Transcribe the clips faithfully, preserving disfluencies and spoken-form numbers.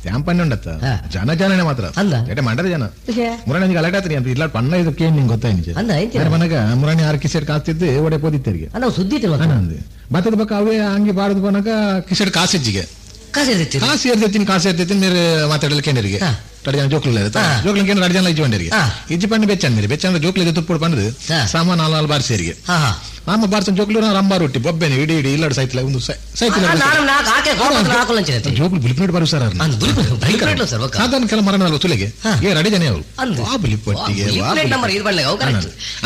ತ್ಯಾಂಪನ್ನೆ ಉಂಡತ್ತ ಜನ ಜನನೇ ಮಾತ್ರ ಎಡೆ ಮಂಡದ ಜನ ಮುರಾಣಿ ಗಲಾಟೆ ಆತ್ರಿ ಅಂತ ಇಲ್ಲ ಪಣ್ಣ ಇದಕ್ಕೆ ಏನ್ ನಿಂಗೆ ಗೊತ್ತಾಯ್ತು ಮನಗ ಮುರಾಣಿ ಆರು ಕಿಸೆಟ್ ಕಾಸ್ತಿದ್ದು ಒಡೆ ಪೋದಿತ್ತರಿಗೆ ಸುದ್ದಿ ಬತ್ತದ ಪಕ್ಕ ಅವೇ ಹಂಗೆ ಬಾರದು ಪೋನಾಗ ಕಿಸೆಟ್ ಕಾಸಿಜ್ಜಿಗೆ ಕಾಸು ಏರ್ದಿತ್ತೀನಿ ಕಾಸು ಏರ್ದಿತ್ತೀನಿ ಮೇರೆ ಮಾತಾಡಲಿಕ್ಕೆ ಕೇಂದ್ರಿಗೆ ಎರಡು ಜನ ಜೋಕ್ಲು ಜೋಕ್ಲು ಕೇಂದ್ರ ಎರಡು ಜನ ಇಜ್ಜಿ ಬಂಡರಿಗೆ ಇಜ್ಜಿ ಪಂಡು ಬೆಚ್ಚನ್ ಮೇರೆ ಬೆಚ್ಚಂದ್ರೆ ಜೋಕ್ಲು ತುಪ್ಪು ಪಂಡದು ಸಾಮಾನು ನಾಲ್ ನಾಲ್ ಬಾರಿಸಿ ಸೇರಿಗೆ ನಮ್ಮ ಬಾರ್ಸನ್ ಜೋಕ್ಲು ರಂಬಾರು ರೊಟ್ಟಿ ಬೊಬ್ಬೆನೆ ಇಡಿ ಇಡಿ ಇಲ್ಲಡು ಸೈತಿಲ್ಲ ಒಂದು ಸೈತಿಲ್ಲ ಜೋಕ್ಲು ಬುಲಿಪ್ನೇಟ್ ಬಾರು ಸರ್ ಸಾಧಾರಣ ಕೆಲ ಮರಣ ತುಲೆಗೆ ಏ ರಡಿ ಜನ ಅವರು ಆ ಬುಲಿಪಟ್ಟಿಗೆ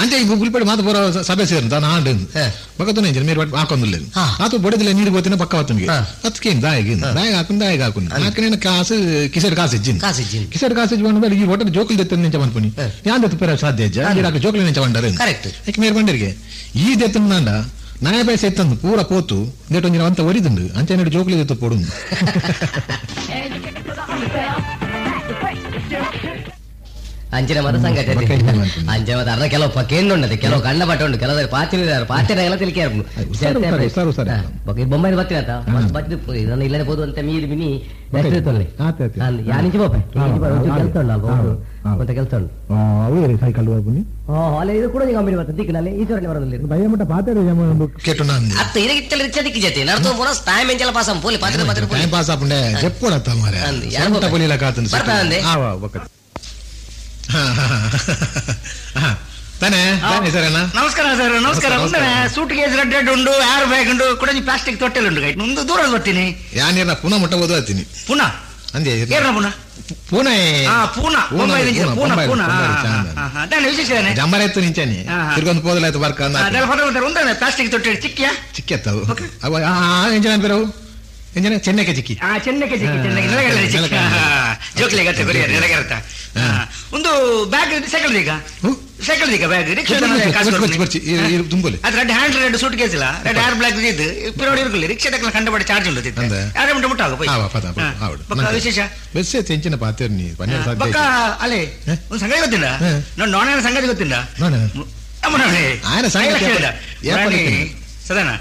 ಅಂಚೆ ಈ ಬುಲಿಪಟ್ಟಿ ಮಾತು ಬರೋ ಸಭೆ ಸೇರಿ ತಾನು ಹಾಂಡ್ ಬಕ್ಕತನೇ ಮೇರು ಹಾಕೊಂದಿಲ್ಲ ಆತು ಬೊಡದಿಲ್ಲ ನೀರು ಗೋತಿನ ಪಕ್ಕ ಹೊತ್ತನಿಗೆ ಅದಕ್ಕೆ ದಾಯಿಗೆ ದಾಯಿಗೆ ಹಾಕೊಂಡು ದಾಯಿಗೆ ಹಾಕೊಂಡು ಹಾಕಿನ ಕಾಸು ಕಿಸೆಡ್ ಕಾಸು ಇಜ್ಜಿನ್ ಕಿಸೆಡ್ ಕಾಸು ಇಜ್ಜಿ ಬಂದ ಈ ಒಟ್ಟೆ ಜೋಕ್ಲು ದೆತ್ತ ನಿಂಚ ಬಂದ್ಪುನಿ ಯಾನ್ ದೆತ್ತ ಪೇರ ಸಾಧ್ಯ ಇಜ್ಜ ಜೋಕ್ಲು ನಿಂಚ ಬಂಡಾರೆ ಯಾಕೆ ಮೇರು ಬಂಡರಿಗೆ ಈ ದೆತ್ತಂಡ ನಾಯ ಪೈಸೆ ಎತ್ತಂದು ಪೂರ ಪೋತು ದೇಟೊಂಜಿನ ಅಂತ ಒರಿದುಂಡು ಅಂಚೆ ನಡು ಜೋಕ್ಲಿ ದೆತ್ತ ಪೋಡು ಅಂಚಿನ ಮತ ಸಂಗತಿ ಅಂಚಿನ ಮತ ಅರ್ಧ ಕೆಲವು ಪಕ್ಕೇಂದು ಕೆಲವು ಕಣ್ಣ ಪಟ್ಟ ಉಂಟು ಕೆಲವು ಪಾತಿನ ಪಾತಿನ ಎಲ್ಲ ತಿಳಿಕೆ ಬೊಂಬೈ ಬತ್ತಿನ ಬತ್ತಿ ಇದನ್ನ ಇಲ್ಲದೆ ಹೋದು ಅಂತ ಮೀರಿ ಮಿನಿ ಯಾನಿಂಚಿ ಬೋಪೆ ಕೆಲಸ ಉಂಟು ಅಲ್ಪ ಮತ್ತೆ ಕೆಲಸ ಉಂಟು ಸೈಕಲ್ ಅಲ್ಲ ಇದು ಕೂಡ ಕಂಪನಿ ಬರ್ತದೆ ದಿಕ್ಕಿನಲ್ಲಿ ಈಶ್ವರನೇ ಬರೋದಿಲ್ಲ ಅತ್ತ ಇರಗಿತ್ತಲ್ಲ ರಿಚ್ಚ ದಿಕ್ಕಿ ಜೊತೆ ನಡ್ತು ಪುನಃ ಟೈಮ್ ಎಂಚಲ ಪಾಸ್ ಪೋಲಿ ಪಾತ್ರೆ ಪಾತ್ರೆ ಟೈಮ್ ಪಾಸ್ ಆಪುಂಡೆ ಜೆಪ್ಪೋಡತ್ತ ಮಾರೆ ಪೊಲಿಲ ಕಾತಂದು ಬರ್ತಾನಂದೆ ತಾನೇ ಸರ್ ನಮಸ್ಕಾರ ಸರ್ ನಮಸ್ಕಾರ ಸೂಟ್ ಕೇಸ್ ರೆಡ್ ರೆಡ್ ಉಂಡು ಏರ್ ಬ್ಯಾಗ್ ಉಂಡು ಕೂಡ ಪ್ಲಾಸ್ಟಿಕ್ ತೊಟ್ಟೆಲ್ ಉಂಡು ಗೈಟ್ ಮುಂದೆ ದೂರ ಬರ್ತೀನಿ ಯಾನೇನ ಪುನಃ ಮುಟ್ಟ ಓದು ಹತ್ತೀನಿ ಪುನಃ ಅಂದೆ ಏರ್ನ ಪುನಃ ಪುನಃ ಹಾ ಪೂನಾ ಪೂನಾ ಪೂನಾ ದಾನೆ ವಿಶೇಷ ಜಂಬರ ಇತ್ತು ನಿಂಚಾನೆ ತಿರ್ಗೊಂದು ಪೋದಲಾಯ್ತು ಬರ್ಕ ಉಂದಾನೆ ಪ್ಲಾಸ್ಟಿಕ್ ತೊಟ್ಟೆ ಚಿಕ್ಕಿಯಾ ಚಿಕ್ಕಿಯತ್ತವು ಅವ ಎಂಜನ ಬೇರವು ಎಂಜನ ಚೆನ್ನಕ್ಕೆ ಚಿಕ್ಕಿ ಹಾ ಚೆನ್ನಕ್ಕೆ ಚಿಕ್ಕಿ ಚೆನ್ನಕ್ಕೆ ನೆಲಗಡೆ ಚಿಕ್ಕಿ ಜೋಕ್ಲಿ ಗತ್ತೆ ಬರೀ ನೆಲಗರತ್ತ ಒಂದು ಬ್ಯಾಗ್ ಸೈಕಲ್ ಈಗ ಸೈಕಲ್ ಈಗ ಬ್ಯಾಗ್ ರಿಕ್ಷಾ ತುಂಬಲಿ ಅದು red hand red suitcase ಇಲ್ಲ ರೆಡ್ ಏರ್ ಬ್ಲಾಕ್ ಇದು ಪಿರೋಡಿ ಇರ್ಕಲಿ ರಿಕ್ಷಾ ತಕ್ಕ ಕಂಡಪಡೆ ಚಾರ್ಜ್ ಉಂಟು ಯಾರೇ ಮುಟ್ಟ ಮುಟ್ಟಾಗ ಪಕ್ಕ ವಿಶೇಷ ಬೆಸ್ಸೆ ತೆಂಚಿನ ಪಾತೇರ್ನಿ ಪಕ್ಕ ಅಲ್ಲೇ ಒಂದು ಸಂಗತಿ ಗೊತ್ತಿಲ್ಲ ನಾನು ನೋಣ ಸಂಗತಿ ಗೊತ್ತಿಲ್ಲ ಸದಾನ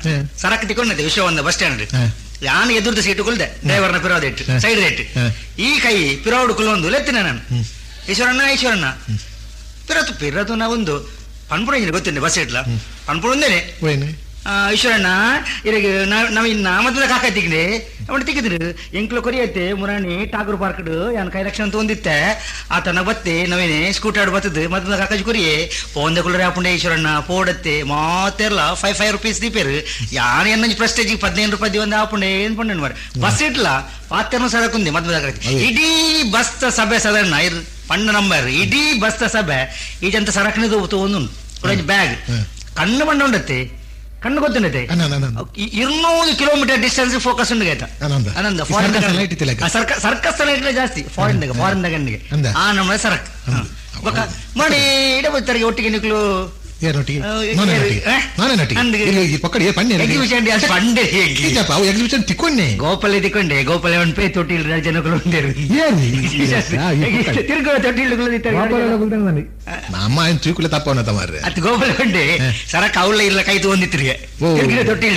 ಸರಕು ತಿಕ್ಕೊಂಡದೆ ವಿಶ್ವ ಒಂದು ಬಸ್ ಸ್ಟ್ಯಾಂಡ್ ಯಾನು ಎದುರ್ದ ಸೀಟು ಕುಲ್ದೆ ಡ್ರೈವರ್ನ ಪಿರೋದ ಇಟ್ಟು ಸೈಡ್ ಇಟ್ಟು ಈ ಕೈ ಪಿರೋಡು ಕುಲ್ಲೊಂದು ಲೆತ್ತಿನ ನಾನು ಈಶ್ವರಣ್ಣ ಈಶ್ವರಣ್ಣ ಪಿರತು ಪಿರತು ನಾ ಒಂದು ಪನ್ಪುಣ ಗೊತ್ತಿಲ್ಲ ಬಸ್ ಇಟ್ಲ ಪನ್ಪುಣ ಒಂದೇನೆ ಈಶ್ವರಣ್ಣ ಇರಗೆ ನಾವ್ ಇನ್ನ ಮತ್ತದ ಕಾಕ ತಿಗ್ನೆ ಅವನು ತಿಕ್ಕಿದ್ರು ಎಂಕ್ಲು ಕೊರಿಯತ್ತೆ ಮುರಾಣಿ ಠಾಕೂರ್ ಪಾರ್ಕ್ ಯಾನ್ ಕೈ ಲಕ್ಷಣ ಅಂತ ಒಂದಿತ್ತೆ ಆತನ ಬತ್ತೆ ನವೇನೆ ಸ್ಕೂಟರ್ ಬತ್ತದು ಮತ್ತದ ಕಾಕಾಜಿ ಕೊರಿಯೆ ಪೋಂದೆ ಕುಲ್ಲರೆ ಆಪುಂಡೆ ಈಶ್ವರಣ್ಣ ಪೋಡತ್ತೆ ಮಾತೆರ್ಲ ಫೈವ್ ಫೈವ್ ರುಪೀಸ್ ದೀಪೇರು ಯಾನ್ ಎನ್ನಂಜಿ ಪ್ರೆಸ್ಟೇಜ್ ಪದಿನೈದು ರೂಪಾಯಿ ದಿವಂದ ಆಪುಂಡೆ ಏನ್ ಪಂಡೆ ಮಾರ ಬಸ್ ಇಟ್ಲ ಪಾತೆರ್ನು ಸರಕುಂದೆ ಮದ್ಮದ ಕಾಕ ಇಡೀ ಬಸ್ ಸಭೆ ಸದಣ್ಣ ಇರ್ ಪಣ್ಣ ನಂಬರ್ ಇಡೀ ಬಸ್ ಸಭೆ ಈ ಜಂತ ಸರಕನಿದು ಒಂದು ಬ್ಯಾಗ್ ಕಣ್ಣು ಬಣ್ಣ ಉಂಡತ್ತೆ ಕಣ್ಣು ಗೊತ್ತುಂಡತೆ ಇನ್ನೂರು ಕಿಲೋಮೀಟರ್ ಡಿಸ್ಟೆನ್ಸ್ ಫೋಕಸ್ ಉಂಡು ಆಯ್ತಾ ಅನಂದ ಫಾರಿನ್ ಸರ್ಕಸ್ ಲೈಟ್ ಜಾಸ್ತಿ ಫಾರಿನ್ ಫಾರಿನ್ ಗಣ್ಣಿಗೆ ಆ ನಮ್ಮ ಸರಕ್ ಮಾಡಿ ಇಡ ಬರ್ತಾರೆ ಒಟ್ಟಿಗೆ ನಿಕ್ಲು ಎಕ್ಸಿಬಿಷನ್ ತಿಕ್ಕೊಂಡೆ ಗೋಪಾಲ ತಿಕ್ಕೊಂಡೆ ಗೋಪಾಲ ಒಂದು ಪೇ ತೊಟ್ಟಿಲ್ ಜನಗಳು ಉಂಡೇರು ತಿರುಗ ತೊಟ್ಟಿಲ್ ನಮ್ಮ ಏನು ತೂಕುಲೆ ತಪ್ಪವನ ತಮಾರ್ರೆ ಅದು ಗೋಪಾಲ ಉಂಡೆ ಸರಕ್ ಅವಳ ಇಲ್ಲ ಕೈ ತಗೊಂಡಿತ್ತಿರಿಗೆ ತೊಟ್ಟಿಲ್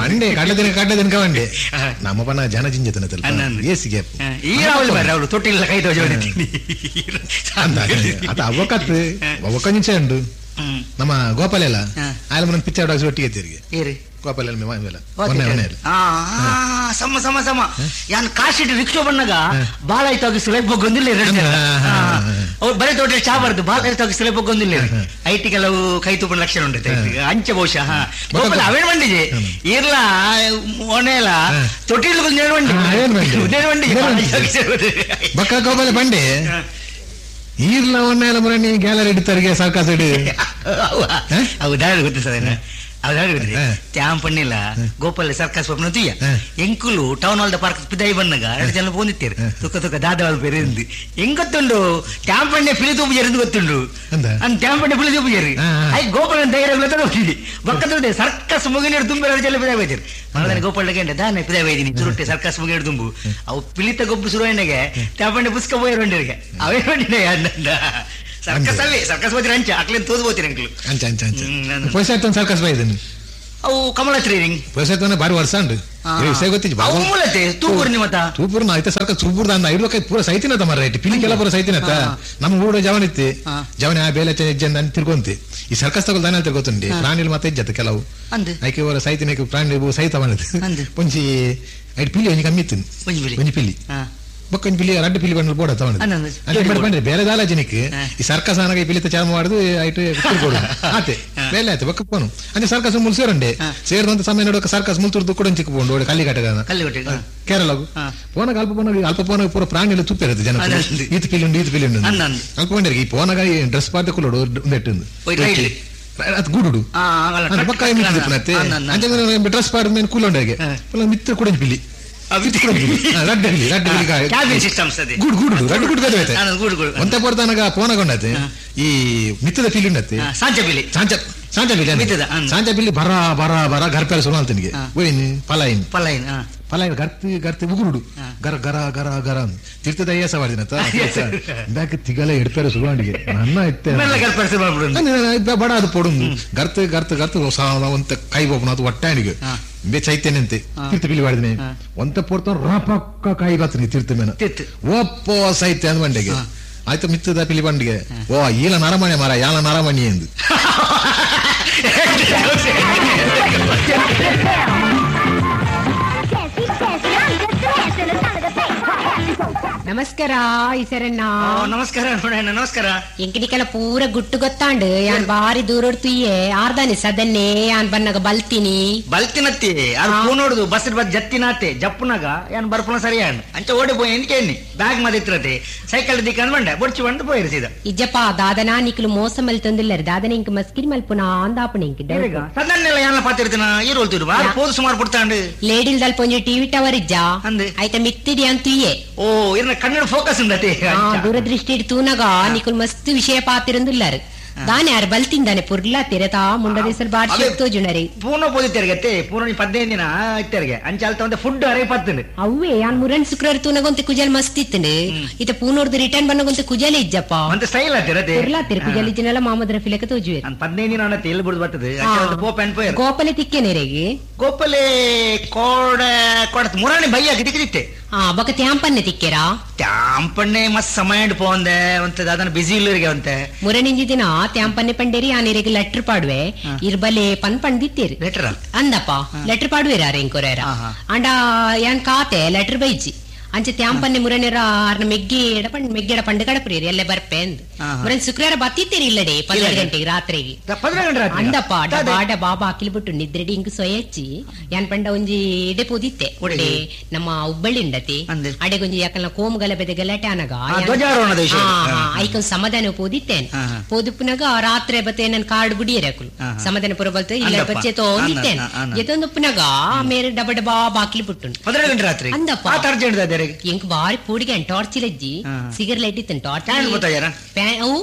ಬಂಡೆ ಕಡಲೆ ದಿನ ಕಡಲೆ ದಿನ ಬಂಡೆ ನಮ್ಮ ಪನ ಜನ ಜಿಂಜತನ ಏಸಿಗೆ ಈ ರಾವಲ್ ಬರ್ರೆ ಅವಳು ತೊಟ್ಟಿಲ್ಲ ಕೈ ತೋಜಿ ಅದ ಅವಕತ್ ಅವಕ ನಿಂಚೆ ಉಂಡು ನಮ್ಮ ಗೋಪಾಲ ಎಲ್ಲ ಆಯ್ಲ ಮನ ಪಿಕ್ಚರ್ ಡಾಗ್ಸ್ ಒಟ್ಟಿಗೆ ತಿರುಗಿ ಗೋಪಾಲ ಸಮ ಸಮ ಸಮ ಯಾನ್ ಕಾಶಿಟ್ಟು ರಿಕ್ಷಾ ಬಂದಾಗ ಬಾಳ ಆಯ್ತು ಸುಲಭ ಬೊಗ್ಗೊಂದಿಲ್ಲ ಅವ್ರು ಬರೀ ತೋಟ ಚಾ ಬಾರ್ದು ಬಾಳ ಆಯ್ತು ಸುಲಭ ಬೊಗ್ಗೊಂದಿಲ್ಲ IT ಕೆಲವು ಕೈ ತುಪ್ಪ ಲಕ್ಷಣ ಉಂಟು ಅಂಚೆ ಬಹುಶಃ ಗೋಪಾಲ ಅವೇನ್ ಬಂಡಿಜೆ ಇರ್ಲ ಒಣೆಲ್ಲ ತೊಟ್ಟಿಲ್ ಬಂಡಿ ಬಕ್ಕ ಗೋಪಾಲ ಬಂಡೆ ಈರ್ಲ ಒಣ್ಣೆಲ್ಲ ಮುರಣಿ ಗ್ಯಾಲರಿ ಇಡ್ತಾರಿಗೆ ಸರ್ಕಾಸ ಇಡು ಹೌದಾ ಗೊತ್ತು ಸರ್ ಹೌದಾ ಗೊತ್ತಿದೆ ತ್ಯಾಂ ಪಣ್ಣಿಲ್ಲ ಗೋಪಾಲ ಸರ್ಕಸ್ ಪಪ್ನ ತುಯ್ಯ ಎಂಕುಲು ಟೌನ್ ಹಾಲ್ the park ಪಿದಾಯಿ ಬಂದಾಗ ಎರಡು ಜನ ಪೋಂದಿತ್ತೇರು ತುಕ್ಕ ತುಕ್ಕ ದಾದವಾಲ್ ಪೇರಿಂದು ಹೆಂಗ್ ಗೊತ್ತುಂಡು ತ್ಯಾಂ ಪಣ್ಣೆ ಪಿಲಿ ತೂಪು ಜರಿಂದು ಗೊತ್ತುಂಡು ಅಂದ್ ತ್ಯಾಂ ಪಣ್ಣೆ ಪಿಲಿ ತೂಪು ಜರಿ I Gopala ಧೈರ್ಯ ಹೋಗ್ತೀನಿ ಬಕ್ಕದ ಸರ್ಕಸ್ ಮುಗಿನೀರು ತುಂಬಿ ಎರಡು ಜನ ಪಿದಾಯಿ ಬೈತೀರಿ ಮರದಾನೆ ಗೋಪಾಲ ಗಂಟೆ ದಾನೆ ಪಿದಾಯಿ ಬೈದಿನಿ ಚುರುಟ್ಟೆ ಸರ್ಕಸ್ ಮುಗಿನೀರು ತುಂಬು ಅವು ಪಿಲಿತ ಗೊಬ್ಬು ಶುರುವಾಯಿನಾಗೆ ತ್ಯಾಂ ಪಣ್ಣೆ ಪುಸ್ಕ ಪೋಯರ್ ಬಂಡಿರಿಗೆ ಅವೇ ಬಂಡಿನೇ ಅಂದ ಸರ್ಕಸ್ ಅಲ್ಲಿ ಸರ್ಕಸ್ ಹೋಗ್ತೀರಿ ಅಂಚೆ ಅಕ್ಲೇನು ತೋದು ಹೋಗ್ತೀರಿ ಅಂಕ್ಲು ಅಂಚೆ ಅಂಚೆ ಅಂಚೆ ಪೈಸೆ ಆಯ್ತು ಸರ್ಕಸ್ ಬೈದೀನಿ ಅವು ಕಮಲತ್ರಿ ಪ್ರಸಾದ ಬಾರಿ ವರ್ಷ ಉಂಡು ವಿಷಯ ಗೊತ್ತಿಜ್ಜಿ ಮೂಲತೆ ತೂಪುರ್ನಿ ಮತ ತೂಪುರ್ನ ಐತೆ ಸರ್ಕ ತೂಪುರ್ದ ಅಂದ ಐದು ಪೂರ ಸೈತಿನತ ಮರ ರೈಟ್ ಪಿಲಿಕೆಲ್ಲ ಪೂರ ಸೈತಿನತ ನಮ್ಮ ಊಡ ಜವನ್ ಇತ್ತಿ ಜವನ ಆ ಬೇಲೆ ಹೆಜ್ಜೆ ಅಂತ ತಿರ್ಕೊಂತಿ ಈ ಸರ್ಕಸ್ ತಗೊಳ್ ದಾನ ತಿರ್ಗೋತುಂಡಿ ಪ್ರಾಣಿలు ಮಾತ ಇಜ್ಜತ್ತ ಕೆಲವು ಐಕೆ ಅವರ ಸೈತಿನ ಪ್ರಾಣಿ ಸೈತ ಬಂದದ್ದು ಒಂಜಿ ಐಟ್ ಪಿಲಿ ಒಂಜಿ ಕಮ್ಮಿ ಇತ್ತು ಒಂಜಿ ಪಿಲಿ ಬೊಕ್ಕ ಪಿಲಿ ರಡ್ಡು ಪಿಲಿ ಬಂಡಲ್ ಬೋಡ ತಗೊಂಡು ಬಂದ್ರೆ ಬೇರೆ ದಾಲ ಜನಕ್ಕೆ ಈ ಸರ್ಕಸ್ ಆನಗ ಈ ಪಿಲಿತ ಚಾಮ ಮಾಡುದು ಐಟ್ ತಿರ್ಗೋಡು ಆತೆ ಬೇಲೆ ಆಯ್ತು ಬೊಕ್ಕ ಪೋನು ಅಂದ್ರೆ ಸರ್ಕಸ್ ಮುಲ್ ಸೇರಂಡೆ ಸೇರಿದಂತ ಸಮಯ ನೋಡಕ ಸರ್ಕಸ್ ಮುಲ್ತುರ್ದು ಕೂಡ ಚಿಕ್ಕ ಪೋಂಡು ಓಡೆ ಕಲ್ಲಿಕಟ್ಟೆ ಕೇರಳಗು ಪೋನಾಗ ಅಲ್ಪ ಪೋನಾಗ ಅಲ್ಪ ಪೋನಾಗ ಪೂರ ಪ್ರಾಣಿ ಎಲ್ಲ ತುಪ್ಪ ಇರುತ್ತೆ ಜನ ಈತ ಪಿಲಿ ಉಂಡು ಈತ ಪಿಲಿ ಉಂಡು ಅಲ್ಪ ಬಂಡಿರಿಗೆ ಈ ಪೋನಾಗ ಡ್ರೆಸ್ ಪಾರ್ಟಿ ಕುಲ್ಲೋಡು ಒಂದೆಟ್ಟು ಅದು ಗೂಡುಡು ಪಕ್ಕ ಡ್ರೆಸ್ ಪಾಡ್ ಮೇಲೆ ಕೂಲೊಂಡಾಗೆ ಮಿತ್ರ ಕೂಡ ಪಿಲಿ ಈ ಮಿತ್ತದ ಪಿಲಿ ಉಂಡತ್ತೆ ಸಾಂಚ ಸಾಂಚ ಪಿಲಿ ಸಾಂಚ ಪಿಲಿ ಬರ ಬರ ಬರ ಗರ್ಪೆಲ್ಲ ಸುರು ಅಂತನಿಗೆ ಓಯ್ನ್ ಪಲಾಯಿನ್ ಪಲಾಯಿನ್ ಪಲಾಯಿನ್ ಗರ್ತಿ ಗರ್ತಿ ಉಗುರುಡು ಗರ ಗರ ಗರ ಗರ ತಿರ್ತದ ಅಯ್ಯಾಸ ಮಾಡಿದಿನತ್ತ ಬ್ಯಾಕ್ ತಿಗಲ ಎಡ್ಪೇರ ಸುರುವಾಂಡಿಗೆ ನನ್ನ ಇತ್ತೆ ಬಡ ಅದು ಪೊಡು ಗರ್ತ ಗರ್ತ ಗರ್ತ ಒಂತ ಕೈ ಬೋಪನ ಅದು ಒಟ್ಟಾಣಿಗೆ ಬೇ ಚೈತನ್ಯಂತೆ ತೀರ್ಥ ಪಿಲಿ ಮಾಡಿದಿನಿ ಒಂತ ಪೊರ್ತ ರಪಕ್ಕ ಕಾಯಿ ಬರ್ತನಿ ತೀರ್ಥ ಮೇನ ಒಪ್ಪೋ ಸೈತ್ಯ ಅಂದ್ ಬಂಡೆಗೆ ಆಯ್ತು ಮಿತ್ತದ ಪಿಲಿ ಬಂಡಿಗೆ ಓ ಈಲ ನರಮಣಿ ಮಾರ ಯಾಲ ನರಮಣಿ ಎಂದು ನಮಸ್ಕಾರ ಈಸರಣ್ಣ. ನಮಸ್ಕಾರ ನೋಡಣ್ಣ, ನಮಸ್ಕಾರ. ಎಂಕಡಿಕೆಲ್ಲ ಪೂರ ಗುಟ್ಟು ಗೊತ್ತಾಂಡು ಯಾನ್ ಬಾರಿ ದೂರ ತುಯ್ಯೆ ಆರ್ದಾನೆ ಸದನ್ನೇ ಯಾನ್ ಬನ್ನಾಗ ಬಲ್ತೀನಿ ಬಲ್ತಿನತ್ತಿ ಅದು ಪೂ ನೋಡುದು ಬಸ್ ಬಸ್ ಜತ್ತಿನಾತೆ ಜಪ್ಪುನಾಗ ಯಾನ್ ಬರ್ಪುನ ಸರಿ ಅಂಚ ಓಡಿ ಪೋಯಿ ಎಂಕೆ ಬ್ಯಾಗ್ ಮದಿತ್ರತೆ ಸೈಕಲ್ ದಿಕ್ಕಂದ್ ಬಂಡೆ ಬೊಡ್ಚಿ ಬಂದು ಪೋಯಿರಿಸಿದ ಇಜ್ಜಪ್ಪ ದಾದನಾ ನಿಕ್ಲು ಮೋಸ ಮಲ್ತೊಂದಿಲ್ಲರು ದಾದನ ಇಂಕ ಮಸ್ಕಿರಿ ಮಲ್ಪುನ ಅಂದಾಪುಣ ಇಂಕ ಸದನ್ನೆಲ್ಲ ಯಾನ ಪಾತಿರ್ತಿನ ಈ ರೋಲ್ತಿರು ಪೋದು ಸುಮಾರು ಪುಡ್ತಾಂಡು ಲೇಡಿಲ್ ದಲ್ಪ ಒಂಜಿ ಟಿವಿ ಟವರ್ ಇಜ್ಜ ಆಯ್ತ ಮಿತ್ತಿಡಿ ಅಂತುಯ್ಯೆ ಓ ಇರ್ನ ಕನ್ನಡ ಫೋಕಸ್ ಉಂಡತೆ ದೂರದೃಷ್ಟಿ ತೂನಗ ನಿಕುಲ್ ಮಸ್ತ್ ವಿಷಯ ಪಾತಿರಂದುಲ್ಲಾರು ದಾನೆ ಯಾರು ಬಲ್ತಿಂದಾನೆ ಪುರ್ಲಾ ತಿರತಾ ಮುಂಡದೇಸಲ್ ಬಾರ್ಸಿ ತೋಜುನರಿ ಪೂರ್ಣ ಪೋದಿತ್ತೆರ್ಗತ್ತೆ ಪೂರ್ಣ ಪದಿನೈದು ದಿನ ಇತ್ತೆರ್ಗೆ ಅಂಚಾಲ್ತ ಒಂದೇ ಫುಡ್ ಅರೆ ಪತ್ತುಂಡು ಅವೇ ಯಾನ್ ಮುರನ್ ಶುಕ್ರವಾರ ತೂನಗೊಂತೆ ಕುಜಲ್ ಮಸ್ತ್ ಇತ್ತುಂಡು ಇತ ಪೂನೋರ್ದು ರಿಟರ್ನ್ ಬನ್ನಗೊಂತೆ ಕುಜಲ ಇಜ್ಜಪ್ಪ ಒಂತೆ ಸ್ಟೈಲ್ ಆತಿರತೆ ಪುರ್ಲಾ ತಿರು ಕುಜಲ್ ಇಜ್ಜನೆಲ್ಲ ಮಾಮದ್ರ ಫಿಲಕ ತೋಜುವೆ ಪದಿನೈದು ದಿನ ಅಣ್ಣತ್ತೆ ಎಲ್ಲಿ ಬಿಡುದು ಬರ್ತದೆ ಗೋಪನ್ ಪೋಯರ್ ಗೋಪಲೆ ತಿಕ್ಕೇನೆರೆಗೆ ಗೋಪಲೆ ಕೋಡ ಕೋಡ ಮುರಾಣಿ ಬೈಯಾಗಿ ತಿಕ್ಕಿತ್ತೆ ಆ ಬಕ ತ್ಯಾಂಪನ್ನೆ ತಿಕ್ಕೆರಾ ತ್ಯಾಂಪಣ್ಣೆ ಮಸ್ತ್ ಸಮಯ ಪೋಂದೆ ಒಂತೆ ಅದನ್ನ ಬಿಸಿ ಇಲ್ಲರಿಗೆ ಅಂತೆ ಮುರಣಿಂಜಿ ದಿನ ತ್ಯಾಂಪನ್ನೆ ಪಂಡೇರಿ ಆನೇರಿಗೆ ಲೆಟರ್ ಪಾಡುವೆ ಇರ್ಬಲೆ ಪನ್ ಪಂಡಿತ್ತೀರಿ ಲೆಟರ್ ಅಂದಪ್ಪ ಲೆಟರ್ ಪಾಡುವೆರ ಎಂಕೊರೇರ ಅಂಡ ಯಾನ್ ಕಾತೆ ಲೆಟರ್ ಬೈಜಿ ಅಂಚೆ ತ್ಯಾಂಪನ್ನೆ ಮುರಣಿರ ಆರ್ನ ಮೆಗ್ಗಿ ಎಡ ಪಂಡ್ ಮೆಗ್ಗೆಡ ಪಂಡು ಕಡಪುರಿ ಎಲ್ಲೇ ಬರ್ಪೆ ಅಂದ್ ಮುರನ್ ಶುಕ್ರವಾರ ಬತ್ತಿತ್ತೀರಿ ಇಲ್ಲಡೆ ಪನ್ನೆರಡು ಗಂಟೆಗೆ ರಾತ್ರಿಗೆ ಅಂದಪ್ಪ ಡಬಾ ಡಬಾ ಬಾಕಿಲ್ ಬಿಟ್ಟು ನಿದ್ರೆಡಿ ಇಂಕ್ ಸೊಯಚ್ಚಿ ಯಾನ್ ಪಂಡ ಒಂಜಿ ಎಡೆ ಪೋದಿತ್ತೆ ಒಡೆ ನಮ್ಮ ಹುಬ್ಬಳ್ಳಿ ಉಂಡತಿ ಅಡೆಗೊಂಜಿ ಯಾಕಲ್ಲ ಕೋಮ್ ಗಲಭೆದ ಗಲಾಟೆ ಅನಗ ಐಕೊಂದ್ ಸಮಾಧಾನ ಪೋದಿತ್ತೇನೆ ಪೋದುಪ್ಪುನಾಗ ರಾತ್ರಿ ಬತ್ತೆ ನನ್ ಕಾರ್ಡ್ ಬುಡಿಯರೆ ಅಕುಲು ಸಮಾಧಾನ ಪುರ ಬಲ್ತ ಇಲ್ಲ ಬಚ್ಚೆ ತೋಂದಿತ್ತೇನೆ ಎತ್ತೊಂದುಪ್ಪುನಾಗ ಮೇರೆ ಡಬ ಡಬಾ ಬಾಕಿಲ್ ಬಿಟ್ಟು ರಾತ್ರಿ ಅಂದಪ್ಪ ಎಂಕ್ ಬಾರಿ ಪೂಡಿಗೆ ಟಾರ್ಚ್ ಇಲ್ಲಜ್ಜಿ ಸಿಗರ್ ಲೈಟ್ ಇತ್ತು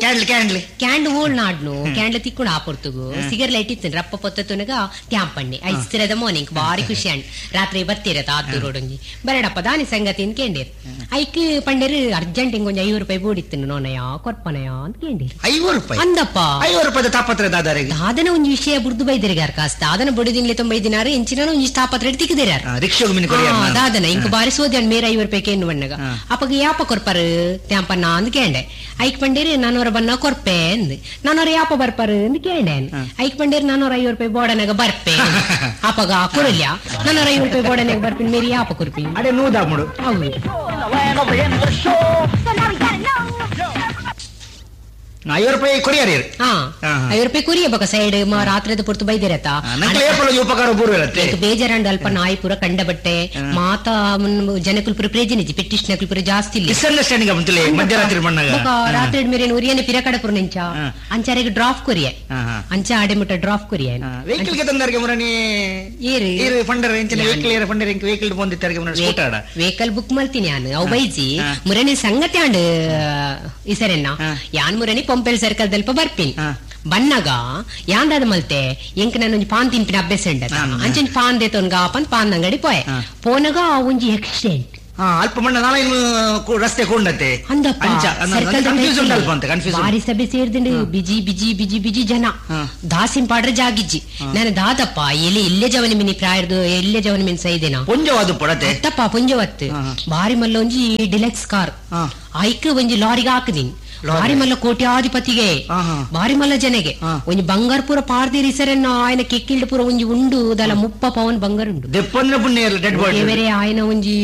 torch candle canned ಓಳ್ ನಾಡ್ನು candle ತಿಕ್ಕೊಂಡು ಆಪೊರ್ತುಗು ಸಿಗರ್ ಲೈಟ್ ಇತ್ತು ರಪ್ಪ ಪೊತ್ತುನಗ ತ್ಯಾಂಪಣ್ಣೆ ಐಸ್ತಿರದ ಮೋನೆ ಇಂಕ್ ಬಾರಿ ಖುಷಿ ಅಂಡ್ ರಾತ್ರಿ ಬತ್ತಿರತ್ತ ಆದ್ದು ರೋಡೊಂಜಿ ಬರಡಪ್ಪ ದಾನಿ ಸಂಗತಿ ಅಂತ ಕೇಂಡೇರು ಐಕ್ ಪಂಡೇರು ಅರ್ಜೆಂಟ್ ಇಂಗೊಂಜಿ ಐವತ್ತು ರೂಪಾಯಿ ಬೋಡಿತ್ತು ನೋನಯ ಕೊರ್ಪನಯ ಅಂತ ಕೇಂಡೇರು ಐವತ್ತು ರೂಪಾಯಿ ಅಂದಪ್ಪ ಐವತ್ತು ರೂಪಾಯಿ ತಾಪತ್ರ ದಾದಾರಿಗೆ ದಾದನ ಒಂಜಿ ವಿಷಯ ಬುಡ್ದು ಬೈದಿರಿಗಾರ ಕಾಸ್ತ ದಾದನ ಬುಡದಿನ್ಲೆ ತೊಂಬೈದಿನಾರು ಎಂಚಿನ ಒಂಜಿ ತಾಪತ್ರ ತಿಕ್ಕಿದಿರಾರ ದಾದನ ಇಂಕ್ ಬಾರಿ ಸೋದ್ಯಾನ್ ಮೇರ ಐವತ್ತು ರೂಪಾಯಿ ಏನು ಬಣ್ಣಗ ಅಪ್ಪಗ ಯಾಪ ಕೊರ್ಪಾರು ತ್ಯಾಂಪನ್ನ ಅಂದ್ ಕೇಂಡೆ ಐಕ್ ಪಂಡೇರಿ ನಾನೂರ ಬನ್ನ ಕೊರ್ಪೆ ಅಂದ್ ನಾನೂರ ಯಾಪ ಬರ್ಪಾರು ಅಂದ್ ಕೇಂಡೆ ಐಕ್ ಪಂಡೇರಿ ನಾನೂರ ಐವತ್ತು ರೂಪಾಯಿ ಬೋಡನಾಗ ಬರ್ಪೆ ಅಪ್ಪಗ ಕೊರಲ್ಯ ನಾನೂರ ಐವತ್ತು ರೂಪಾಯಿ ಬೋಡನಾಗ ಬರ್ಪಿನ ಮೇರಿ ಯಾಪ ಕೊರ್ಪಿ ಅದೇ ನೂದಾಗ್ಬಿಡು ಹೌದು ಐವತ್ತು ರೂಪಾಯಿ ಕೊರಿಯರ್ ಹಾ ಐವತ್ತು ರೂಪಾಯಿ ಕುರಿಯ ಬಕ ಸೈಡ್ ರಾತ್ರಿದ ಪುರ್ತು ಬೈದಿರತ್ತ ಉಪಕಾರ ಬೇಜಾರಂಡು ಅಲ್ಪ ನಾಯಿ ಪೂರ ಕಂಡ ಬಟ್ಟೆ ಮಾತಾ ಜನಕುಲ್ ಪೂರ ಪ್ರೇಜನಿಜಿ ಪೆಟ್ಟಿಷ್ನಕುಲ್ ಪೂರ ಜಾಸ್ತಿ ಇಲ್ಲ ಮಿಸ್ಅಂಡರ್ಸ್ಟ್ಯಾಂಡಿಂಗ್ ಮಧ್ಯರಾತ್ರಿ ರಾತ್ರಿ ಮೇರೆ ಉರಿಯನೆ ಪಿರ ಕಡಪುರ ನಿಂಚ ಅಂಚಾರಿಗೆ ಡ್ರಾಪ್ ಕೊರಿಯ ಅಂಚ ಆಡೆ ಮುಟ್ಟ ಡ್ರಾಪ್ ಕೊರಿಯ ವೆಹಿಕಲ್ ಗೆ ತಂದಾರಿಗೆ ಮುರಣಿ ಏರು ಏರು ಫಂಡರ್ ಎಂಚಿನ ವೆಹಿಕಲ್ ಏರು ಫಂಡರ್ ಎಂಕ್ ವೆಹಿಕಲ್ ಬಂದಿತ್ತಾರಿಗೆ ಮುರಣಿ ಸ್ಕೂಟರ್ ವೆಹಿಕಲ್ ಬುಕ್ ಮಲ್ತೀನಿ ಯಾನು ಅವು ಬೈಜಿ ಮುರಣಿ ಸಂಗತಿ ಆಂಡ್ ಇಸರೆನ್ನ ಯಾನ್ ಮುರಣಿ ಪೊಂಪೆಲ್ ಸರ್ಕಲ್ ದಲ್ಪ ಬರ್ಪಿನ್ ಬನ್ನಾಗ ಯಾಂದಾದ ಮಲ್ತೆ ಎಂಕ್ ನಾನು ಒಂಜಿ ಪಾನ್ ತಿನ್ಪಿನ ಅಭ್ಯಾಸ ಉಂಡ ಅಂಚೊಂಜಿ ಪಾನ್ ದೇತೊನ್ಗ ಪಂದ್ ಪಾನ್ ಅಂಗಡಿ ಪೋಯೆ ಪೋನಾಗ ಒಂಜಿ ಆಕ್ಸಿಡೆಂಟ್ ಅಲ್ಪ ಮಣ್ಣ ನಾಲೈನ್ ರಸ್ತೆ ಕೊಂಡತೆ ಅಂದಪ್ಪ ಕನ್ಫ್ಯೂಸ್ ಉಂಟು ಅಲ್ಪ ಅಂತ ಕನ್ಫ್ಯೂಸ್ ಬಾರಿ ಸಭೆ ಸೇರ್ದಿಂಡು ಬಿಜಿ ಬಿಜಿ ಬಿಜಿ ಬಿಜಿ ಜನ ದಾಸಿನ್ ಪಾಡ್ರೆ ಜಾಗಿಜ್ಜಿ ನಾನು ದಾದಪ್ಪ ಎಲ್ಲಿ ಇಲ್ಲೇ ಜವನ ಮಿನಿ ಪ್ರಾಯರ್ದು ಎಲ್ಲೇ ಜವನ ಮಿನ್ ಸೈದೇನಾ ಪೊಂಜವಾದು ಪಡತೆ ಅತ್ತಪ್ಪ ಪೊಂಜವತ್ತು ಬಾರಿ ಮಲ್ಲ ಒಂಜಿ ಡಿಲೆಕ್ಸ್ ಕಾರ್ ಐಕ್ ಒಂಜಿ ಲಾರಿಗೆ ಹಾಕಿದೀನಿ ಬಾರಿ ಮಲ್ಲ ಕೋಟ್ಯಾಧಿಪತಿಗೆ ಬಾರಿ ಮಲ್ಲ ಜನಗೆ ಒಂಜಿ ಬಂಗಾರ ಪೂರ ಪಾರ್ದಿರಿ ಸರನ್ನ ఆయన ಕೆಕ್ಕಿಲ್ಡ್ ಪೂರ ಒಂಜಿ ಉಂಡು ದಲ ಮುಪ್ಪ ಪವನ್ ಬಂಗಾರ ಉಂಡು ಬೇರೆ ఆయన ಒಂಜಿ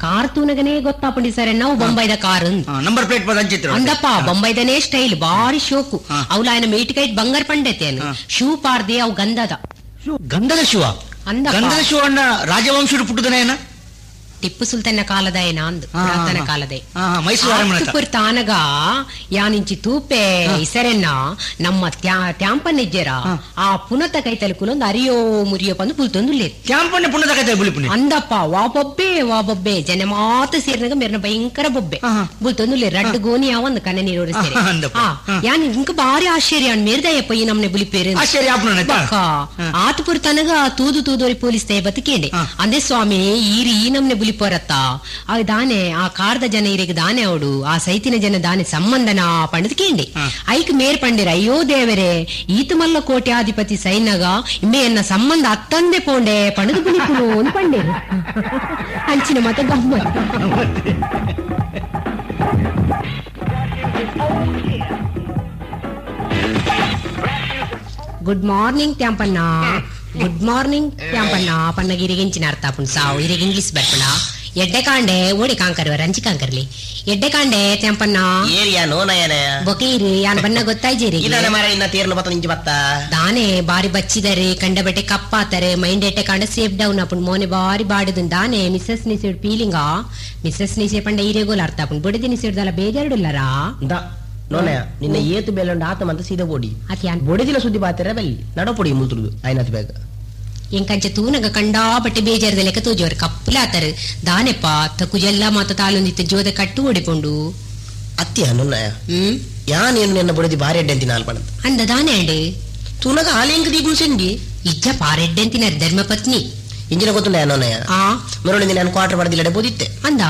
ಕಾರ್ ತೂನಗನೇ ಗೊತ್ತಾಪಂಡಿ ಸರ್ ನಾವು ಬೊಂಬೈದ ಕಾರ್ ನಂಬರ್ ಪ್ಲೇಟ್ ಅಂದಪ್ಪ ಬೊಂಬೈದನೇ ಸ್ಟೈಲ್ ಬಾರಿ ಶೋಕು ಅವ್ಲ ఆయన ಮೇಟಿಕೈಟ್ ಬಂಗಾರ ಪಂಡೆತೇನು ಶೂ ಪಾರ್ದೆ ಅವು ಗಂಧದ ಗಂಧದ ಶಿವ ಅಂದ ಗಂಧದ ಶಿವ ಅಣ್ಣ ರಾಜವಂಶರು ಪುಟ್ಟದನೇನ ಟಿಪ್ಪು ಸುಲ್ತಾನ ಕಾಲದ ಏನ ಅಂದು ಪುರಾತನ ಕಾಲದ ಮೈಸೂರು ತಾನಗ ಯಾನಿಂಚಿ ತೂಪೆ ಇಸರೆನ್ನ ನಮ್ಮ ತ್ಯಾಂಪನ್ನಿಜ್ಜರ ಆ ಪುನತ ಕೈತಲೆ ಕುಲೊಂದು ಅರಿಯೋ ಮುರಿಯೋ ಬಂದು ಪುಲ್ತೊಂದು ತ್ಯಾಂಪನ್ನೆ ಪುನತ ಕೈತಲೆ ಬುಲಿಪುನಿ ಅಂದಪ್ಪ ವಾ ಬೊಬ್ಬೆ ವಾ ಬೊಬ್ಬೆ ಜನ ಮಾತ ಸೇರಿನಾಗ ಮೇರ್ನ ಭಯಂಕರ ಬೊಬ್ಬೆ ಬುಲ್ತೊಂದು ರಡ್ಡು ಗೋನಿ ಯಾವಂದು ಕನ್ನ ನೀರು ಸೇರಿ ಯಾನ್ ಇಂಕ ಬಾರಿ ಆಶ್ಚರ್ಯ ಮೇರ್ದಯ್ಯಪ್ಪ ಈ ನಮ್ನೆ ಬುಲಿಪೇರು ಆತಪುರ ತನಗ ತೂದು ತೂದೋರಿ ಪೊಲೀಸ್ ತೇ ಬದುಕೇಂಡೆ ಅಂದೇ ಸ್ವಾಮಿ ಈರಿ ಈ ನಮ್ನೆ ಬುಲಿಪೋರತ್ತ ಆ ದಾನೆ ಆ ಕಾರ್ದ ಜನ ಇರಿಗೆ ದಾನೆ ಅವಡು ಆ ಸೈತಿನ ಜನ ದಾನೆ ಸಂಬಂಧನ ಪಂಡದ್ ಕೇಂಡೆ ಐಕ್ ಮೇರ್ ಪಂಡಿರ ಅಯ್ಯೋ ದೇವರೇ ಈತ ಮಲ್ಲ ಕೋಟ್ಯಾಧಿಪತಿ ಸೈನಗ ಇಮ್ಮೆ ಎನ್ನ ಸಂಬಂಧ ಅತ್ತಂದೆ ಪೋಂಡೆ ಪಂಡದು ಬುಲಿಪುನು ಅಂತ ಪಂಡೇರು ಅಂಚಿನ ಮತ ಗಮ್ಮತ್. Good morning Tyampanna, good morning Tyampanna. ಪನ್ನಗ ಇರಿಗಿಂಚಿನ ಅರ್ಥ ಆಪುಂಡು ಸಾವು ಇರಿಗ್ ಇಂಗ್ಲಿಷ್ ಬರ್ಪಣ ಎಡ್ಡೆ ಕಾಂಡೆ ಓಡಿ ಕಾಂಕರ್ವ ರಂಚಿ ಕಾಂಕರ್ಲಿ ಎಡ್ಡೆ ಕಾಂಡೆ ತ್ಯಾಂಪಣ್ಣ ಏರಿಯಾ ನೋನಯನ ಬೊಕೀರಿ ಯಾನ್ ಬಣ್ಣ ಗೊತ್ತಾಯ್ಜೇರಿ ಇದಾನೆ ಮಾರ ಇನ್ನ ತೇರ್ನ ಬತ್ತ ನಿಂಚಿ ಬತ್ತ ದಾನೆ ಬಾರಿ ಬಚ್ಚಿದರೆ ಕಂಡ ಬಟ್ಟೆ ಕಪ್ಪಾತಾರೆ ಮೈಂಡ್ ಎಟ್ಟೆ ಕಾಂಡ ಸೇಫ್ ಡೌನ್ ಆಪುಂಡು ಮೋನೆ ಬಾರಿ ಬಾಡಿದನ್ ದಾನೆ ಮಿಸಸ್ ನಿಸೆಡ್ ಪೀಲಿಂಗಾ ಮಿಸಸ್ ನಿಸೆ ಪಂಡ ಈರೆಗೋಲ್ ಅರ್ಥ ಆಪುಂಡು ಬೊಡಿದಿ ನಿಸೆಡ್ದಲ್ಲ ಬೇಜಾರುಡುಲ್ಲರಾ ನೋನಯ ನಿನ್ನ ಏತು ಬೇಲೊಂಡು ಆತ ಮಂತ ಸೀದಾ ಬೋಡಿ ಬೊಡಿದಿನ ಸುದ್ದಿ ಬಾತಿರ ಬಲ್ಲಿ ನಡಪೊಡಿ ಮುಲ್ತುರುದು ಐನಾತ್ ಬೇಗ ಎಂಕಂಚ ತೂನಗ ಕಂಡಾ ಬಟ್ಟೆ ಬೇಜಾರದ ಲೆಕ್ಕ ತೋಜೋರು ಕಪ್ಪಲಾತರು ದಾನೆಪ್ಪ ತಕುಜೆಲ್ಲ ಮಾತ ತಾಲೊಂದಿತ್ತು ಜೋದ ಕಟ್ಟು ಓಡಿಕೊಂಡು ಅತ್ಯ ನೋನಯ ಹ್ಮ್ ಯಾನ್ ಏನು ನಿನ್ನ ಬೊಡಿದಿ ಬಾರಿ ಅಡ್ಡೆ ಅಂತಿನ ಆಲ್ಪಣಂತ ಅಂದ ದಾನೆ ಅಂಡೆ ತೂನಗ ಆಲೆಂಕ ದೀಪು ಸೆಂಡಿ ಇಜ್ಜ ಪಾರೆಡ್ಡೆ ಅಂತಿನ ಧರ್ಮಪತ್ನಿ ಇಂಜಿನ ಗೊತ್ತುಂಡ ನೋನಯ ಆ ಮರಳಿಂದ ನಾನು ಕ್ವಾರ್ಟರ್ ಪಡೆದಿಲ್ಲಡೆ ಬೋದಿತ್ತೆ ಅಂದ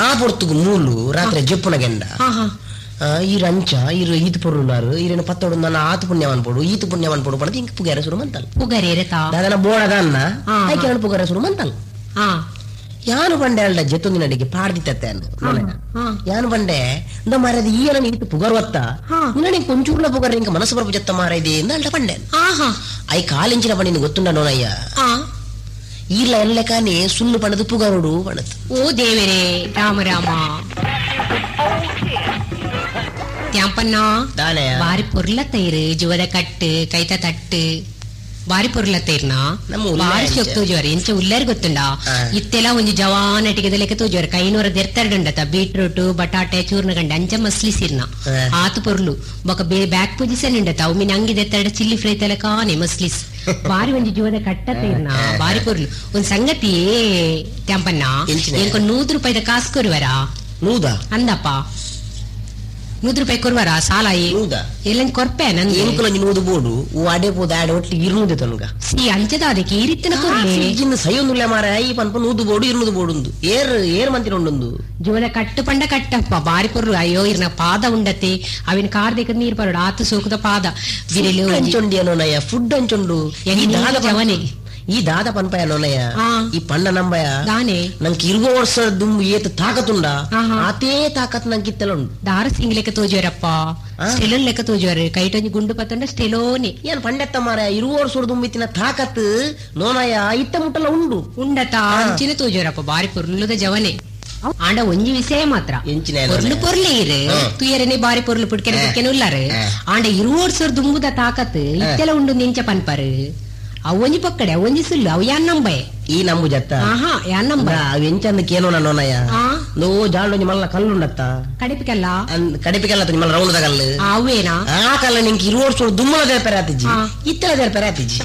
ಆ ಪೊರ್ತುಗು ಮೂಲು ರಾತ್ರಿ ಜಪ್ಪುನ ಗೆಂಡ ಹಾ ಹಾ ಈ ರಂಚ ಇರು ಈತ ಪೊರುಲಾರು ಈರೇನು ಪತ್ತೋಡು ನನ್ನ ಆತ ಪುಣ್ಯವನ್ ಪೋಡು ಈತ ಪುಣ್ಯವನ್ ಪೋಡು ಪಡದು ಇಂಕ ಪುಗಾರ ಸುರು ಮಂತಲ್ ಪುಗಾರೇರತಾ ದಾದನ ಬೋಡದ ಅನ್ನ ಐಕೆ ನಾನು ಪುಗಾರ ಸುರು ಮಂತಲ್ ಹಾ ಯಾನು ಬಂಡೆ ಅಲ್ಲ ಜೆತ್ತೊಂದಿನ ಅಡಿಗೆ ಪಾಡ್ದಿತ್ತೆ ಯಾನು ಬಂಡೆ ಇಂದ ಮಾರದ ಈ ಅನ್ನ ಈತ ಪುಗಾರ್ ಒತ್ತ ನಿನ್ನ ಕೊಂಚೂರ್ಲ ಪುಗಾರ ಇಂಕ ಮನಸ್ಸು ಬರಪು ಜತ್ತ ಮಾರ ಇದೆ ಇಂದ ಅಲ್ಟ ಬಂಡೆ I ಕಾಲಿಂಚಿನ ಬಂಡಿ ಗೊತ್ತುಂಡ ನೋನಯ್ಯ ಈರ್ಲ ಎಲ್ಲ ಕಾನೆ ಸುಳ್ಳು ಪಣದು ಪುಗಾರೋಡು ಪಣದು ಓ ದೇವರೇ ರಾಮ ರಾಮ ತ್ಯಾಂಪಣ್ಣ ಬಾರಿ ಪೊರ್ಲ ತೈರು ಜುವದ ಕಟ್ಟು ಕೈತ ತಟ್ಟು ಬಾರಿ ಪೊರ್ಲ ತೈರ್ನ ಬಾರಿ ಶೋಕ್ ತೋಜುವಾರ ಎಂಚ ಉಲ್ಲಾರಿ ಗೊತ್ತುಂಡ ಇತ್ತೆಲ್ಲ ಒಂಜಿ ಜವಾನ್ ಅಟಿಗೆದ ಲೆಕ್ಕ ತೋಜುವಾರ ಕೈನೂರ ದೆರ್ತರಡುಂಡತ ಬೀಟ್ರೂಟ್ ಬಟಾಟೆ ಚೂರ್ಣ ಗಂಡ ಅಂಚ ಮಸ್ಲಿ ಸಿರ್ನ ಆತು ಪೊರ್ಲು ಬೊಕ ಬೇ ಬ್ಯಾಕ್ ಪೊಸಿಷನ್ ಉಂಡತ ಅವು ಮೀನ್ ಅಂಗಿ ದೆತ್ತರಡ ಚಿಲ್ಲಿ ಫ್ರೈ ತಲೆ ಕಾನೆ ಮಸ್ಲಿಸ್ ಬಾರಿ ಒಂಜಿ ಜುವದ ಕಟ್ಟ ತೈರ್ನ ಬಾರಿ ಪೊರ್ಲು ಒಂದ್ ಸಂಗತಿ ತ್ಯಾಂಪಣ್ಣ ಎಂಕ ನೂರು ರೂಪಾಯಿದ ಕಾಸು ಕೊರುವರಾ ನೂದಾ ಅಂದಪ್ಪ ನೂರು ರೂಪಾಯಿ ಕೊರುವರ ಸಾಲ ಎಲ್ಲ ಕೊರ್ಪೆ ನನ್ಗೆ ನೂದು ಬೋಡು ಅಡೆ ಪೋದ ಆಡೆ ಒಟ್ಲಿ ಇರುನೂದೆ ತನುಗ ಸಿ ಅಂಚದ ಅದಕ್ಕೆ ಈ ರೀತಿನ ಕೊರ್ಲಿ ಫ್ರಿಡ್ಜಿನ ಸೈಯೊಂದುಲ್ಲ ಮಾರ ಈ ಪನ್ಪ ನೂದು ಬೋಡು ಇರುನೂದು ಬೋಡುಂದು ಏರ್ ಏರ್ ಮಂತಿನ ಉಂಡೊಂದು ಜೋದ ಕಟ್ಟು ಪಂಡ ಕಟ್ಟಪ್ಪ ಬಾರಿ ಪೊರ್ಲು ಅಯ್ಯೋ ಇರ್ನ ಪಾದ ಉಂಡತೆ ಅವಿನ ಕಾರ್ ದೇಕ ನೀರ್ ಪರೋಡು ಆತು ಸೋಕುದ ಪಾದ ಬಿರಿಲು ಅಂಚೊಂಡಿ ಅನ್ನೋನಯ್ಯ ಫುಡ್ ಅಂಚೊಂಡು ಜವನೆ ಈ ದಾದ ಪನ್ಪಯ ನೋನಯ್ಯ ಈ ಪಂಡ ನಂಬಯ ದಾನೆ ನಂಗೆ ಇರುಗೋ ವರ್ಷ ದುಂಬು ಏತ ತಾಕತ್ತುಂಡ ಆತೇ ತಾಕತ್ ನಂಗೆ ಇತ್ತೆಲ್ಲ ಉಂಡು ದಾರ ಸಿಂಗ್ ಲೆಕ್ಕ ತೋಜುವರಪ್ಪ ಸ್ಟೆಲೋನ್ ಲೆಕ್ಕ ತೋಜುವರು ಕೈಟೊಂಜಿ ಗುಂಡು ಪತ್ತಂಡ ಸ್ಟೆಲೋನೆ ಏನ್ ಪಂಡೆತ್ತ ಮಾರ ಇರುವ ವರ್ಷ ದುಂಬಿತ್ತಿನ ತಾಕತ್ ನೋನಯ್ಯ ಇತ್ತ ಮುಟ್ಟಲ್ಲ ಉಂಡು ಉಂಡತ ಅಂಚಿನ ತೋಜುವರಪ್ಪ ಬಾರಿ ಪೊರ್ಲುದ ಜವನೆ ಆಂಡ ಒಂಜಿ ವಿಷಯ ಮಾತ್ರ ಪೊರ್ಲು ಪೊರ್ಲೆ ಇರು ತುಯರನೆ ಬಾರಿ ಪೊರ್ಲು ಪುಡ್ಕೆನೆ ಪುಡ್ಕೆನೆ ಉಲ್ಲಾರು ಆಂಡ ಇರುವ ವರ್ಷ ದುಂಬುದ ತಾಕತ್ ಇತ್ತೆಲ್ಲ ಉಂಡು ನಿಂಚ ಪನ್ಪರು ಅವೊಂಜಿ ಪಕ್ಕಡೆ ಅವೊಂಜಿ ಸುಲ್ಲು ಅವು ಯಾನ್ ನಂಬೆ ಈ ನಂಬು ಜತ್ತ ಆಹಾ ಯಾನ್ ನಂಬ ಅವ್ ಎಂಚಂದಕ್ಕೆ ಏನೋ ನೋನಯ್ಯ ನೋ ಜಾಂಡೊಂಜಿ ಮಲ್ಲ ಕಲ್ಲುಂಡತ್ತ ಕಡಿಪಿಕಲ್ಲ ಕಡಿಪಿಕಲ್ಲ ಮಲ್ಲ ರೌಂಡ್ ಕಲ್ಲು ಅವೇನಾ ಆ ಕಲ್ಲ ನಿಂಗೆ ಇರುವ ವರ್ಷ ದುಮ್ಮಲ ದೇಪೆರಾತಿಜಿ ಇತ್ತೆಲ ದೇಪೆರಾತಿಜಿ